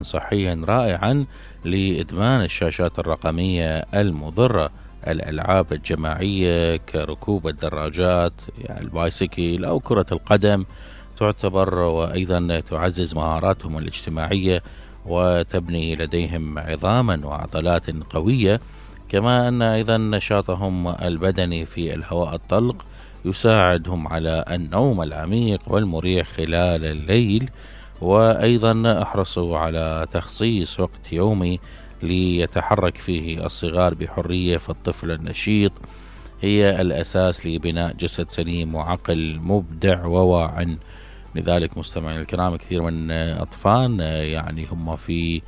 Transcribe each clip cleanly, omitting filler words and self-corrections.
صحيا رائعا لإدمان الشاشات الرقمية المضرة. الألعاب الجماعية كركوب الدراجات يعني البايسكل أو كرة القدم تعتبر وأيضا تعزز مهاراتهم الاجتماعية وتبني لديهم عظاما وعضلات قوية. كما أن أيضا نشاطهم البدني في الهواء الطلق يساعدهم على النوم العميق والمريح خلال الليل. وأيضا احرصوا على تخصيص وقت يومي ليتحرك فيه الصغار بحرية، فالطفل النشيط هي الأساس لبناء جسد سليم وعقل مبدع وواع. لذلك مستمعين الكرام كثير من أطفال يعني هم في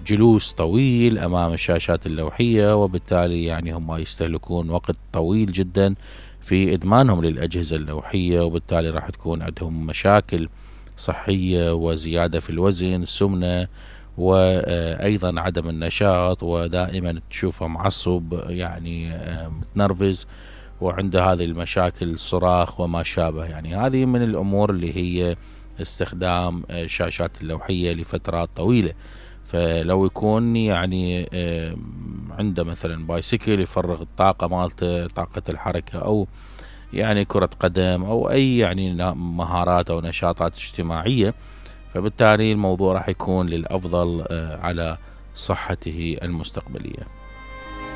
جلوس طويل أمام الشاشات اللوحية، وبالتالي يعني هم يستهلكون وقت طويل جدا في إدمانهم للأجهزة اللوحية، وبالتالي راح تكون عندهم مشاكل صحية وزيادة في الوزن، سمنة، وأيضا عدم النشاط، ودائما تشوفه معصب يعني متنرفز وعنده هذه المشاكل صراخ وما شابه. يعني هذه من الأمور اللي هي استخدام الشاشات اللوحية لفترات طويلة. فلو يكون يعني عنده مثلا بايسكل يفرغ الطاقة مالته، طاقة الحركة، أو يعني كرة قدم أو أي يعني مهارات أو نشاطات اجتماعية، فبالتالي الموضوع راح يكون للأفضل على صحته المستقبلية.